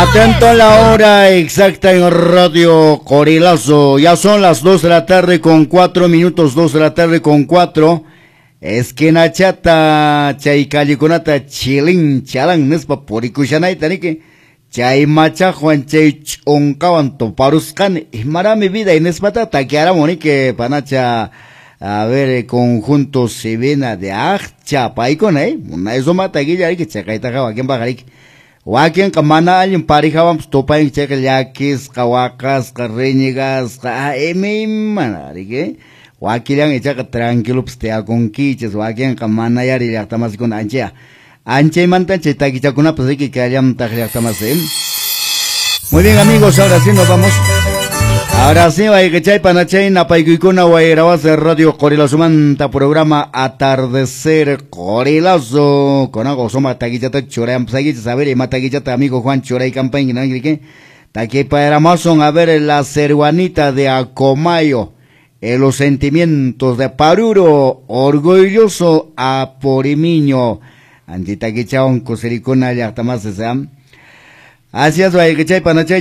Atento a la hora exacta en Radio Qorilazo. Ya son las 2 de la tarde con 4 minutos, 2 de la tarde con 4. Esquinachata, chay callekunata, chilin, chalan, nispa purikushanayta, niki. Chay machajuan, chay ch'unkawan tuparusqani. Imarami vida y nispata takiaramu, niki, panacha. A ver, conjunto Sibina de Acha, paykuna, eh. Munay sumaqta taquilla, riki, chaqaytaqa wakinpaq, riki. Wakinqa mana allin parijawanpas tupayanki chayqa llakisqa, waqasqa, reñigasqa, imaymana, riki. Wakillan ichaqa tranquilopas tiyakunkichis, wakinqa mana yari llaqtamasikuna anchaya. Anchaymanta chay takichakunapas riki kallamtaq llaqtamasi. Muy bien, amigos, ahora sí nos vamos. Ahora sí, chay panachay napaykuykuna wayrawasa Radio Qorilazomanta programa Atardecer Qorilazo. Con algo soma taquichata churayam saguichas, a ver, ima taquichata amigo Juan churay campaña, ¿no? ¿Qué? Taquipaeramason, a ver, la ceruanita de Acomayo, los sentimientos de Paruro, orgulloso Aporimiño. Antitaquichaon kusirikuna llaqtamasi seam. Así es, chay panachay.